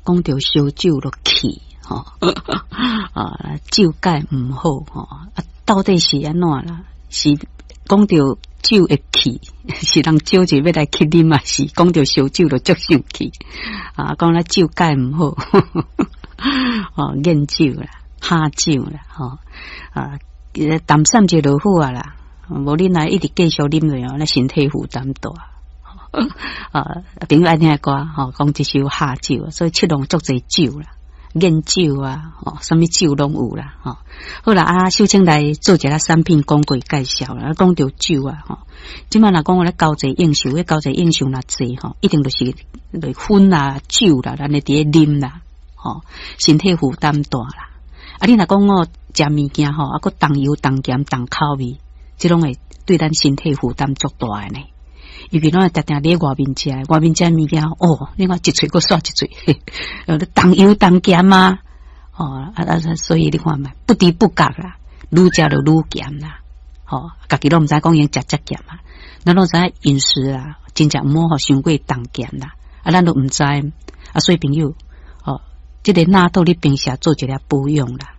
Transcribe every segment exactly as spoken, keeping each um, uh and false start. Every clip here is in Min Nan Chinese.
講著燒酒就氣吼，啊，酒駕毋好吼，啊，到底是按怎啦？是講著酒會氣，是人招一欲來去啉啊？是講著燒酒就足生氣啊？講咱酒駕毋好，哦，煙酒啦，哈酒啦，吼啊，淡散者就好啊啦。無恁來一直繼續啉落哦，咱身體負擔大。啊，朋友愛聽歌吼，講這首哈酒，所以七龍足濟酒啦，煙酒啊，吼，啥物酒攏有啦，吼。好啦，啊，秀清來做一下產品廣告介紹啦，講著酒啊，吼。這擺若講我咧交際應酬，彼交際應酬若濟吼，一定就是來薰啊酒啦，咱咧佇咧啉啦，吼，身體負擔大啦。啊，你若講我食物件吼，啊，閣重油重鹹重口味，這攏會對咱身體負擔足大的呢。尤其攏會定定佇外面食，外面食物件哦，你看一喙閣煞一喙，重油重鹹啊，哦啊啊，所以你看覓，不知不覺啦，愈食就愈鹹啦，吼，家己攏毋知講已經食遮鹹啊，咱攏知影飲食啊，真正毋好予傷過重鹹啦，啊，咱都毋知，啊，所以朋友，哦，這个納豆你平時做一下保養啦，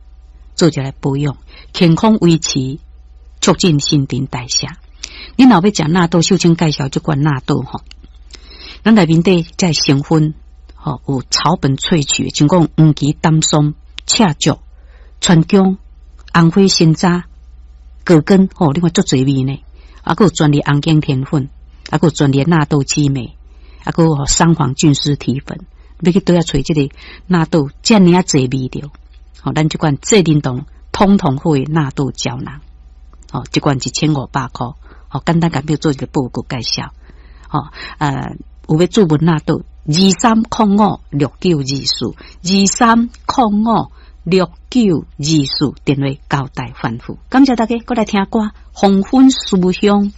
做一下保養，健康維持，促進新陳代謝。你若欲食納豆，秀清介紹這款納豆吼，咱內面底這成分吼有草本萃取，像講黃芪、丹參、赤石、川薑、紅花、山楂、葛根吼，你看足濟味呢。啊，閣有專利紅景天粉，啊，閣有專利納豆激酶，啊，閣有桑黃菌絲體粉。欲去佗遐揣這个納豆，遮爾仔濟味著。吼，咱這款濟靈動通通好的納豆膠囊，吼，這款一千五百箍。好，簡單共你做一個報告介紹。吼，呃，有欲注文納豆，二三空五六九二四，二三空五六九二四，電話交代吩咐。感謝大家，閣來聽歌，黃昏思鄉。